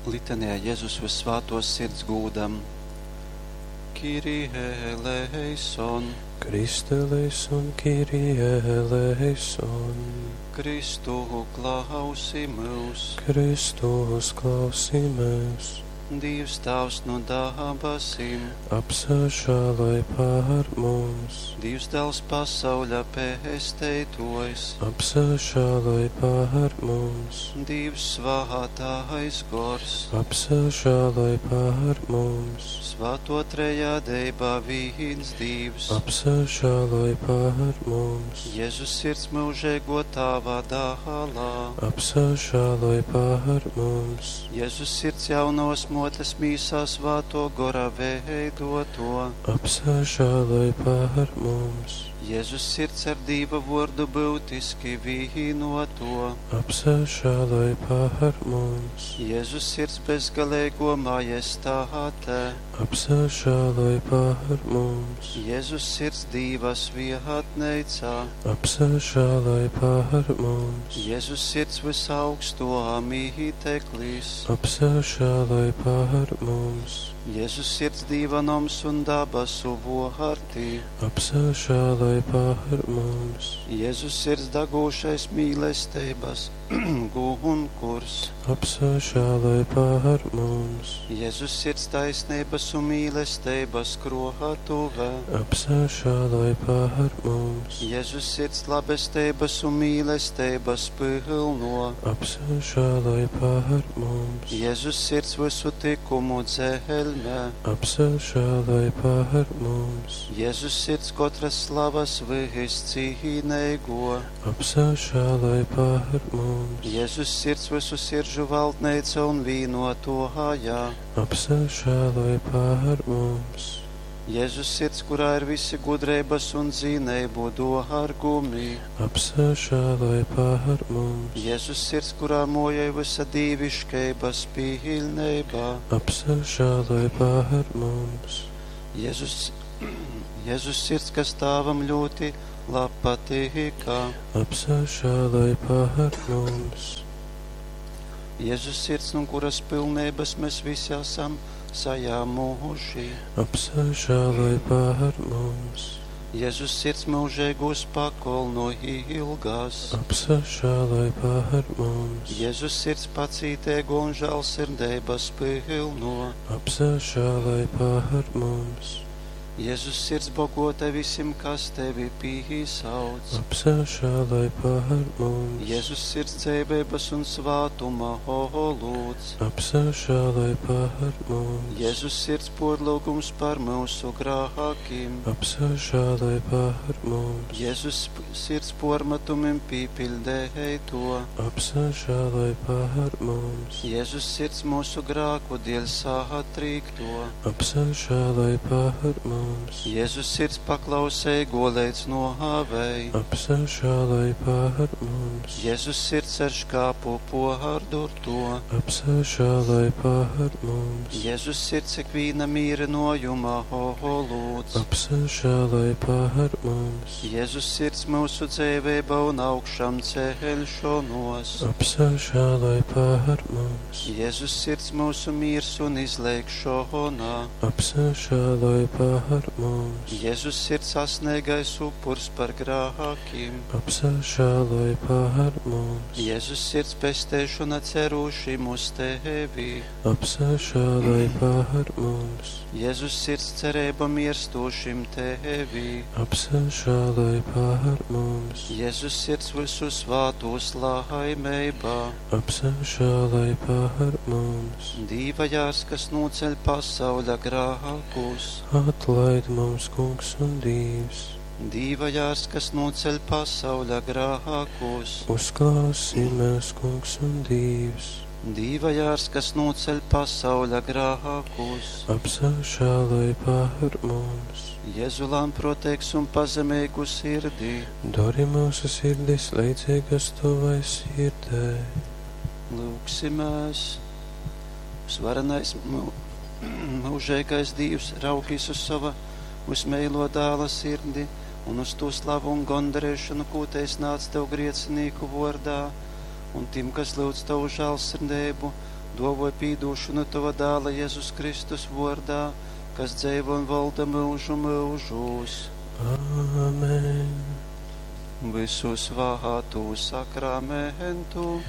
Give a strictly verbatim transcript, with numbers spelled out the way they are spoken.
Litanijā Jezus Vyssvātuos Sirds gūdam. Kyrie eleison, Christe eleison, Kyrie eleison. Kristu klausi myus. Kristus klausī mūs. Dīvs Tāvs nu dabasim, Apsažāloj pār mums. Dīvs Dāls pasauļa pesteituojs, Apsažāloj pār mums. Dīvs svātais gors, Apsažāloj pār mums. Svāto trejādeiba vīns Dīvs, Apsažāloj pār mums. Jēzus sirds mūžēgo Tāva dālā, Apsažāloj pār mums. Jēzus sirds jaunos motes mīsā svāto gora veidoto, Apsažāloj pār mums. Jēzus sirds ar Dīva vordu būtiski vīnoto, Apsažāloj pār mums. Jēzus sirds bezgalēgo majestāte, Apsažāloj pār mums. Jēzus sirds Dīva svietneicā, Apsažāloj pār mums. Jēzus sirds visaugsto mīteklis, Apsažāloj pār mums. Jēzus sirds Dīva noms un dabasu vārti, Apsažāloj pār mums. Jēzus sirds dagūšais mīlestības gunkurs, Apsažāloj pār mums. Jēzus sirds taisnības un mīlestības krohatuve, Apsažāloj pār mums. Jēzus sirds labestības un mīlestības pilno, Apsažāloj pār mums. Jēzus sirds visu tikumu dzelme, Apsažāloj pār mums. Jēzus sirds katras slavas viscīneigo, Apsažāloj pār mums. Jēzus sirds visu sirdžu valdneica un vīnotohājā, Apsažāloj pār mums. Jēzus sirds, kurā ir visi gudrības un zinību dārgumi, Apsažāloj pār mums. Jēzus sirds, kurā mojai visa dīviškeibas pilnībā, Apsažāloj pār mums. Jēzus, Jēzus sirds, kas Tāvam ļoti labpatīkā, Apsažāloj pār mums. Jēzus sirds, no kuras pilnības mēs visi esam sajāmuši. Apsažāloj pār mums. Jēzus sirds mūžīgos pakolnu ilgās. Apsažāloj pār mums. Jēzus sirds pacītēgo un žēlsirdības pilno. Apsažāloj pār mums. Jēzus sirds bogota visiem, kas tevi pīsauc. Apsažāloj pār mums. Jēzus sirds dzēbības un svātuma holūds. Apsažāloj pār mums. Jēzus sirds porlūgums par mūsu grākiem. Apsažāloj pār mums. Jēzus sirds pormetumim pīpildēja to. Apsažāloj pār mums. Jēzus sirds mūsu grāku dēļ sātrīkto. Apsažāloj pār mums. Jēzus sirds paklausēgo līdz nohāvei. Apsažāloj pār mums. Jēzus sirds ar škāpu pohārdurto. Apsažāloj pār mums. Jēzus sirds ikvīna mīrinojuma holūds. Apsažāloj pār mums. Jēzus sirds mūsu dzīvība un augšām ceļšanos. Apsažāloj pār mums. Jēzus sirds mūsu miers un izlēkšana. Apsažāloj pār mums. Jēzus sirds asnīgais upurs par grākiem. Apsažāloj pār mums. Jēzus sirds pestēšana cerūšim uz tevi. Apsažāloj pār mums. Jēzus sirds cerība mirstošim tevi. Apsažāloj pār mums. Jēzus sirds visu svātos laimībā. Apsažāloj pār mums. Dīva jārs, kas noceļ pasauļa grākus. Atlaid mums, Kungs un Dievs. Dīva jārs, kas noceļ pasauļa grākus. Uzklausi mēs, Kungs un Dievs. Dīva jārs, kas noceļ pasauļa grākus. Apsažāloj pār mums. Jēzu lānproteiks un pazemīgu sirdī. Dari mūsu sirdis līdzīgas tavai sirdē. Lūgsimies. Svarenais mūžīgais Dievs raugīs uz sava vismeilo dāla sirdi un uz to slavu un gondarēšanu, ko te es nāc tev griecinīku vordā, un tim, kas lūdz tavu žēlsirdību, Duovoj pīdūšonu Tova dāla Jezus Kristus vuordā, kas dzeivo un volda myužu myužūs. Āmen. Visu svātū sakramentu.